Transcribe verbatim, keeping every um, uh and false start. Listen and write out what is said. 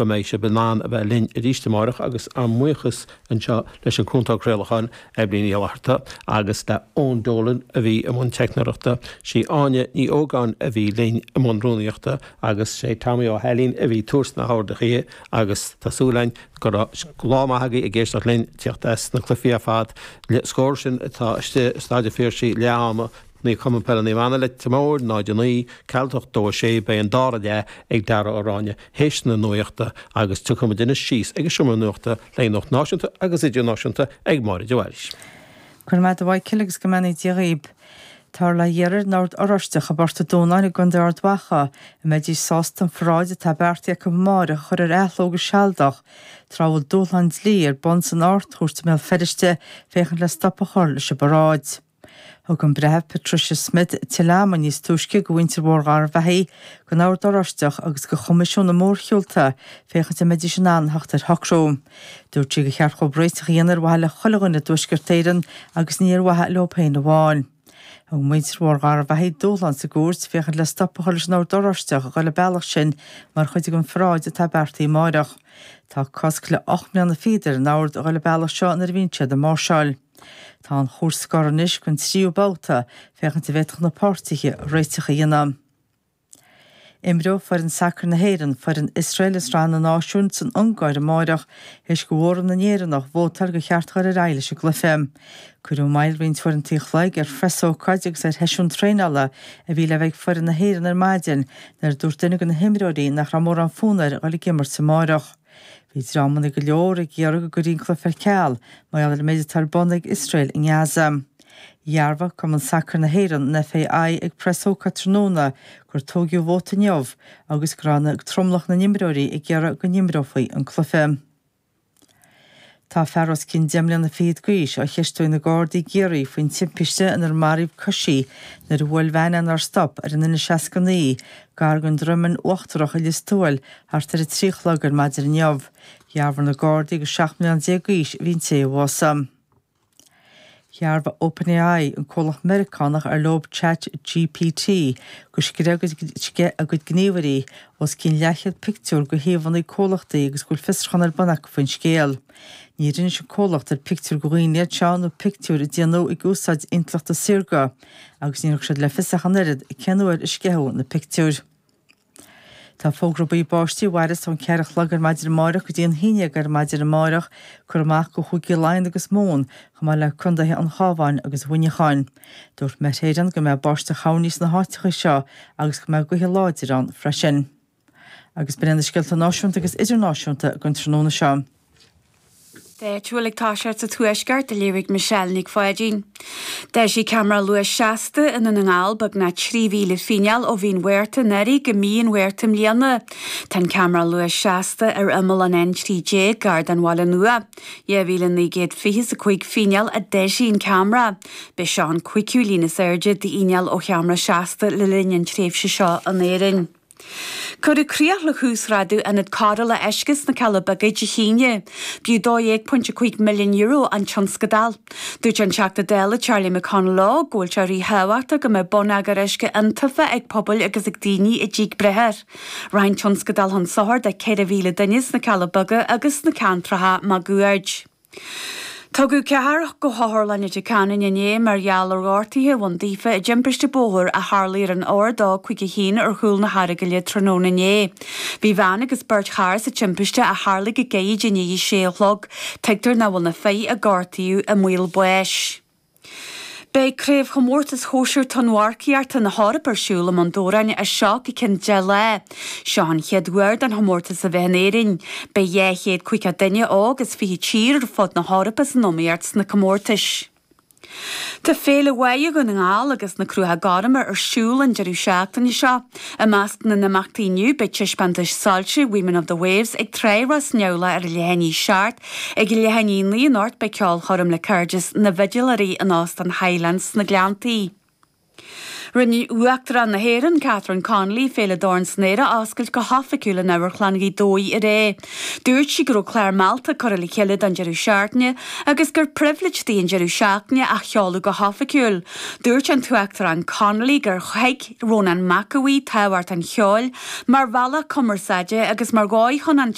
go mbeidh sibh in ann a bheith linn arís amárach agus ár mbuíochas anseo leis an cúntóir craolacháin Eibhlín Ní Fhlatharta agus le Eoin Dolan a bhí i mbun teicneoireachta, sí Áine Ní Ógáin a bhí linn i mbun rúnaíochta agus sé Tommy Ó hAilín a bhí ag tabhairt na horduithe agus tá súil againn go raibh lá maith agaibh ag éisteacht linn teacht as na cluichí ar fad le scór sin atá istigh i Staid an Phiarsaigh leath ama Naomh Cumann Peile Naomh Anna Leitir Móir náid a naoi Ceathrú a hocht dó a sé beidh an dara leath ag Dara Ó Ráinne théis na nuachta agus tiocfaimid anois síos ag an seomra nuachta le nuacht náisiúnta agus idirnáisiúnta ag Máire de Bhailís. Go raibh maith agat a Mhichael agus go mbeannaí Dia dhaoib. Tá le hiarraidh ar an Ord Oráisteach i bPort an Dúnáin i gContae Ard Mhacha an mbeidís sásta an pharáid atá beartaithe acu amárach a chur ar athló go sealadach, tráth a bhfuil dúshlán dlí ar bun san Ard-Chúirt i mBéal Feirste féachaint le stop a chur leis an bparáid. Thug an breitheamh Patricia Smith tuilleadh ama níos túisce go mhuintir Mhór Gharbhachaidh, don Ord Oráisteach agus go Choimisiún na Mórshiúlta féachaint an mbeidís in ann theacht ar shocrú. Dúirt sí gur cheart dóibh réiteach a dhéanamh ar mhaithe le chuile dhuine i dTuaisceart Éireann agus ní ar mhaithe leo féin amháin. Thug muintir Mhór Gharbhachaidh dúshlán sa gcúirt féachaint le stop a chur leis an Ord Oráisteach a dhul an bealach sin mar chuid den pharáid atá beartaithe amárach. Tá cosc le ocht mbliana fichead ar an ord a dhul an bealach seo nuair a bhíonn siad ag máirseáil. Tá an chúirt scortha anois don tríú babhta féachaint an bhféadfadh na páirtithe réiteach a dhéanamh. Imreoidh foireann sacair na hÉireann foireann Iosrael i Sraith na Náisiún san Ungáir amárach théis do mhóramh na nÉireannach vótáil gur cheart dul ar aghaidh leis an gcluiche. Cuireadh moill roinnt uaireanta an chloig ar phreasócáid agus ar sheisiún traenála a bhí le bheith ag foireann na hÉireann ar maidin nuair a dúirt duine de na himreoirí nach raibh mórán fonn air dhul ag imirt amárach. Bhí dreamanna go leor ag iarraidh go gcuirfí an cluiche ar ceal mar gheall ar an méid atá ar bun ag Iosrael i nGaza. Dhearbhaigh Cumann Sacair na hÉireann an FAI ag preasócáid tráthnóna gur toghadh vóta inniu agus go raibh tromlach na n-imreoirí ag iarraidh go n-imreofaí an cluiche. Tá fear os cionn deich mbliana fichead d'aois á cheistiú ag na Gardaí i gCiarraí faoin timpiste inar maraíodh coisí nuair a bhuail veain nár stop ar an N seasca naoi gar don Droimeann Uachtarach i Lios Tuathail thart ar a trí a chlog ar maidin inniu. Dhearbhaigh na Gardaí gur seacht mbliana déag d'aois a bhí an té a bhásaigh. Dhearbhaigh OpenAI an comhlacht Meiriceánach ar leo Chat GPT gur sceith a gcuid gníomhairí os cionn leathchéad pictiúr de shuíomhanna comhlachtaí agus go bhfuil fiosrúchán ar bun acu faoin scéal. Níor inis an comhlacht ar pictiúir de dhaoine iad seo nó pictiúir a déanadh ag úsáid intleachta saorga agus níor thug siad le fios ach an oiread cén uair a sceitheadh na pictiúir. Tá fógra buí báistí i bhfeidhm ón ceathair a chlog ar maidin amárach go dtí an haon déag ar maidin amárach curtha amach go Chúige Laighean agus Mumhan chomh maith le contaetha an Chabháin agus Mhuineacháin. Dúirt Met Éireann go mbeidh báisteach thoirní sna háiteacha seo agus go mbeidh gaotha láidir ann freisin. Agus b'in na scéalta náisiúnta agus idirnáisiúnta don tráthnóna seo. Áitiúil ag toiseacht sa tuaisceart a léirigh Michelle Nic Pháidín. D'eisigh ceamara luais seasta i nDún na nGall beagnach trí mhíle fíneáil ó mhí an Mhárta anuraidh go mí an Mhárta i mbliana. Tá an ceamara luais seasta ar imeall an N trí déag gar don Bhaile Nua. Dhá mhíle naoi gcéad fiche a cúig fíneáil a d'eisigh an ceamara. B'é seo an cúigiú líon is airde d'fhíneáil ó cheamara seasta le linn an tréimhse seo in Éirinn. Cuireadh críoch le huasghrádú ionad cóireála uisce sna Cealla Beaga Dé hAoine. B'fhiú dó dhéag pointe cúig milliún euro an tionscadal. Dúirt an Teachta Dála Charlie McConalogue go bhfuil sé ríthábhachtach go mbeadh bonneagar uisce iontaofa ag pobail agus ag daoine i dtigh Bhriothair. Rachaidh an tionscadal chun sochair do ceithre mhíle duine sna Cealla Beaga agus sna ceantracha máguaird. Tugadh ceathrar go hOtharlann Leitir Ceanainn inné mar gheall ar ghortuithe a bhain daofa i dtimpiste bóthair a tharlaigh ar an R dó cúig a haon ar chúl na hEaragaile tráthnóna inné. Bhí bean agus beirt fear sa timpiste a tharlaigh go gairid i ndiaidh a sé a chlog. Tuigtear nach bhfuil na fir a gortaíodh i mbaol báis. Beidh craobhchomórtas shóisir tonnmharcaíochta na hEorpa ar siúl i mBun Dobhráin as seo go ceann deich lá. Seo an chéad uair don chomórtas a bheith in Éirinn. Beidh dhá chéad caoga duine óg as fiche tír ar fud na hEorpa san iomaíocht sna comórtais. Tá Féile Bháire Dhún na nGall agus na Cruacha Gorma ar siúl an deireadh seachtaine seo. I measc na n-imeachtaí inniu beidh taispeántas soilse Women of the Waves ag Trá Ros Neamhlach ar leath i ndiaidh a seacht, Ag leath i ndiaidh a naoi anocht beidh ceolchoirm le Cairdeas na bhFidléirí in Óstán Highlands sna Gleanntaí. Rinne Uachtarán na hÉireann, Catherine Connolly, Féile Dorn san Aer a oscailt go hoifigiúil in Amharclann Ghaoth Dobhair aréir. Dúirt sí go raibh clár mealltach curtha le chéile don deireadh seachtaine agus gur pribhléid di an deireadh seachtaine a sheoladh go hoifigiúil. Dúirt an tUachtarán Connolly gur thuig Rónán Mac Aodha Bhuí tábhacht an cheoil mar bhealach cumarsáide agus mar dhóigh chun an